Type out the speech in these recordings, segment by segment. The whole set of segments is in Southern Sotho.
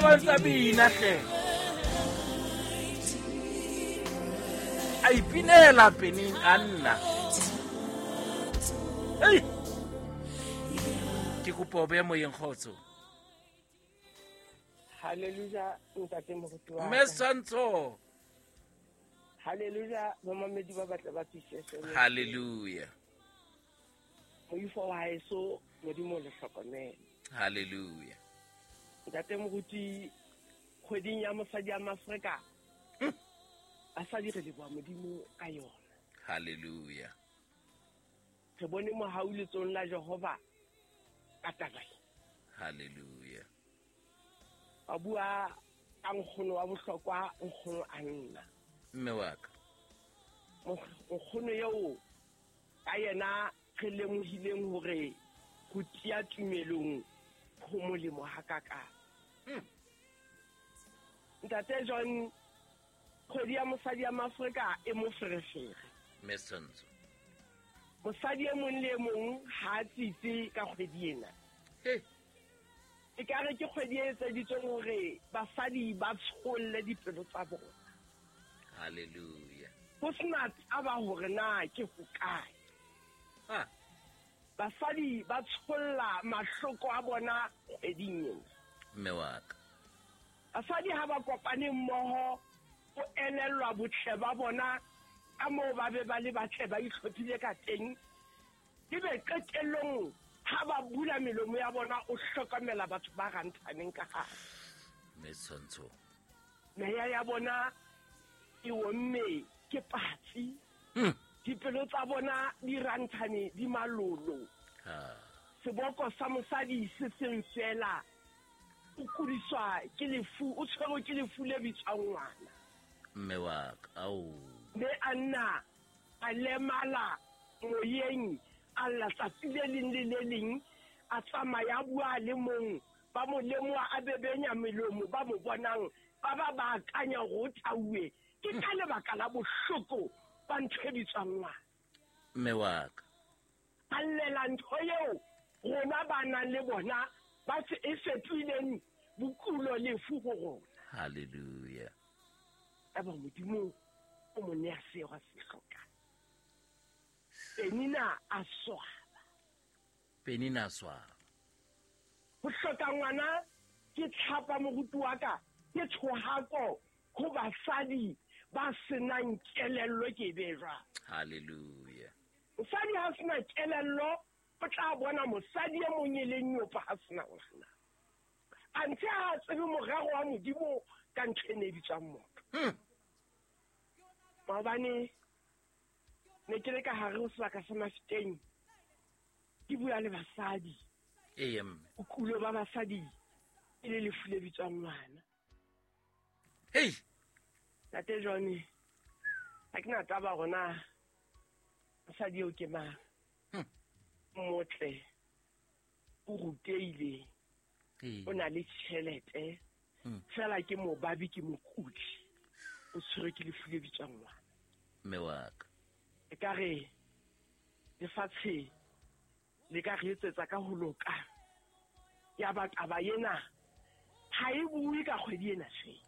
ba ntsa bina hle. A ipinela Penina Anna. Ei! Ke kopa o behe moyeng kgotso. Hallelujah, ntate moruti wa. Mme Santsho. Hallelujah, bomamedi ba batle ba fihlese. Hallelujah. Moifo wa haeso Modimo le hlokomele. Hallelujah. Ntate moruti kgweding ya mosadi ya Mafrika. Basadi re leboha Modimo ka yona. Hallelujah. Re bone mohau letsong la Jehova ka taba e. Hallelujah. Ba bua ka nkgono wa bohlokwa, nkgono a nna. Mme wa ka. Nkgono eo ka yena re lemohileng hore ho tiya tumelong ho molemo hakakang. Ntate John, kgwedi ya mosadi ya Maafrika e moferefere. Mme Santsho. Mosadi e mong le e mong ha a tsitse ka kgwedi ena. Hey. E ka re ke kgwedi e etseditsweng hore basadi ba tsholle dipelo tsa bona. Hallelujah. Ho sena taba hore na ke hokae. Ah. Basadi ba tsholla mahloko a bona kgweding ena. Mme wa ka. Basadi ha ba kopane mmoho ho elellwa botle ba bona ka moo ba be ba le batle ba itlhophile ka teng. Ebe qetellong ha ba bula melomo ya bona o hlokomela batho ba ranthaneng ka hare. Mme Tshwantsho. Meya ya bona e omme ke patsi. Dipelo tsa bona di ranthane di malolo. Seboko sa mosadi se seng fela. O kudiswa ke lefu, o tshwerwe ke lefu le bitswang ngwana. Mme wa ka, ao. Mme a nna a lemala moyeng, a lla tsatsi le leng le le leng, a tsamaya a bua a le mong, ba mo lemoha a bebenya melomo, ba mo bonang ba ba ba akanya hore o tauwe. Ke ka lebaka la bohloko ba ntho e bitswang ngwana. Mme wa ka. A llela ntho eo rona ba nang le bona ba se e fetohileng bokulo lefu ho rona. Hallelujah. Eba Modimo o mo nea seo a se hlokang. Penina a swaba. Penina a swaba. Ho hloka ngwana ke tlhapa moruti wa ka, ke thohako ho basadi ba senang kelello ke e be jwang. Hallelujah. Mosadi ha sena kelello o tla bona mosadi e mong e leng nyopa ha sena ngwana. Anthe ha tsebe morero wa Modimo ka ntho e ne e bitswang motho. Maobane ne ke le ka hare ho sebaka sa Mafeteng ke bua le basadi. Ee, mme. Bokulo ba basadi e le lefu le bitswang ngwana. Hei. Ntate John, ha ke na taba hore na mosadi eo ke mang. Motle, o rutehile, o na le tjhelete, fela ke mobabi, ke mokudi, o tshwerwe ke lefu le bitswang ngwana. Mme wa ka. E ka re lefatshe le ka re etsetsa ka ho loka. Ya ba taba ena ha e bue ka kgwedi ena feela.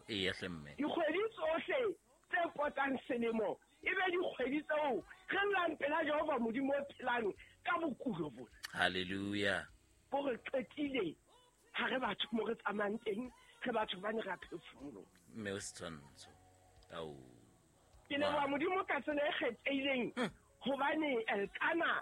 Eya hle mme. Dikgwedi tsohle tse potang selemo e be dikgwedi tseo re llang pela Jehova Modimo o phelang ka bokulo bona. Hallelujah. Bo re qetile ha re batho mo re tsamayang teng, re batho ba ne ra phefumoloha. Mme o setshwantsho. Ao. Ke leboha Modimo ka tsela e kgethehileng hobane Elkana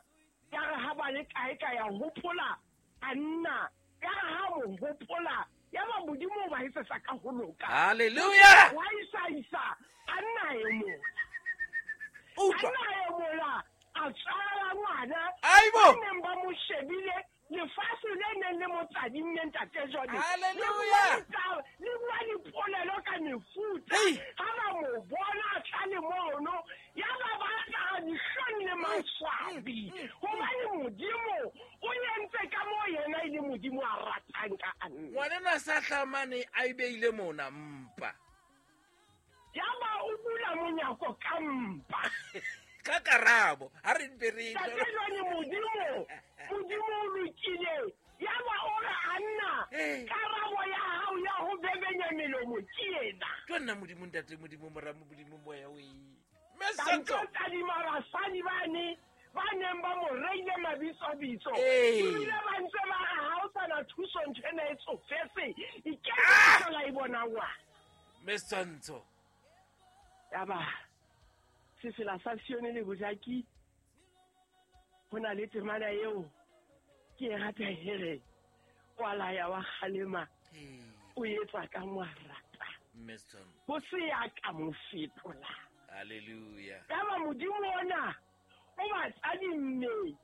ya re ha ba le kae ka ya hopola Anna, ya re ha mo hopola ya ba Modimo o ba etsetsa ka ho loka. Hallelujah. Wa isa isa Anna e mola. Utlwa. Anna e mola a tswala ngwana. Aibo. Ba neng ba mo shebile lefatshe le neng le mo tadimme ntate Jone. Hallelujah. Le bua dipolelo ka mefuta. Hey. Ha ba mo bona a tla le mono, ya ba ba apara dihlong le maswabi. Hobane Modimo o entse ka moo yena e le Modimo a ratang ka Anna. Ngwanenwa sa hlamane a e beile mona mpa. Ya ba o bula monyako ka mpa. Ka karabo, ha re mpe re Ntate Jone, Modimo, Modimo o lokile. Ya ba o re Anna, karabo ya hao Jo nna Modimo ntate Modimo mora Modimo moya o e. Ka ntlo tadima basadi bane ba neng ba mo reile mabitsobitso. Ebile ba ntse ba re ha o sana thuso ntho ena e tsofetse. Iketsa la e bona ngwana. Mme Setshwantsho. Yaba sefela sa Sione le Bojaki ho na le temana eo ke e ratang e reng wa laya wa kgalema o etsa ka mo a rata ho se ya ka mo fetola. Hallelujah. Yaba Modimo ona o ba tadimme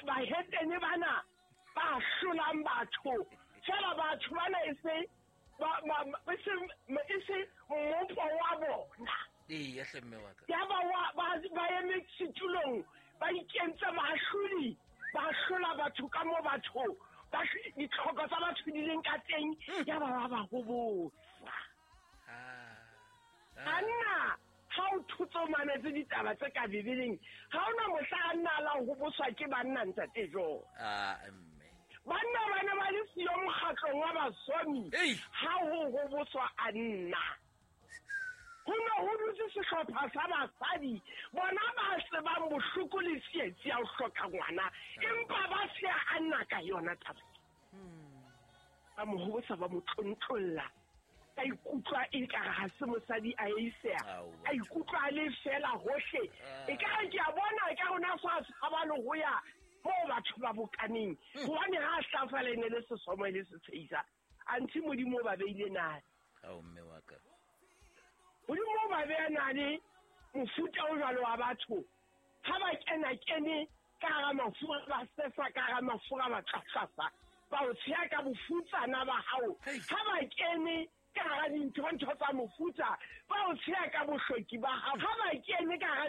bahetene bana ba hlolang batho fela batho bana e se e se mmopo wa bona. Ee, hle mme wa ka. Yaba ba eme setulong ba ikentse baahlodi ba hlola batho ka mo batho ditlhoko tsa batho di leng ka teng yaba ba ba hobosa. Anna ha o thotse o mametse ditaba tse ka Bibeleng ha ona mohla a nna la hoboswa ke banna ntate Jo. Banna ba ne ba le siyo mokgatlong wa basomi ha ho hoboswa a nna. Ho ne ho dutse sehlopha sa basadi bona ba tsebang bohloko le tsietsi ya ho hloka ngwana empa ba se a nna ka yona taba. Ba mo hobosa ba mo tlontlolla. A ikutlwa e ka ha se mosadi a eiseha. A ikutlwa a le fela hohle. E ka re ke a bona e ka rona sa tshaba le ho ya moo batho ba bokaneng. Hobane ha hlafala e ne le sesomo e le setshehisa. Anthe Modimo o ba beile nale. Ao mme wa ka. Modimo o ba beya nale mofuta o jwalo wa batho. Ha ba kena kene ka hara mafura ba sefa ka hara mafura ba tlatlasa. Ba o tsheha ka bofutsana ba hao. Ha ba kene ka hara dintho tsa mofuta ba o tsheha ka bohloki ba hao. Ha ba kene ka hara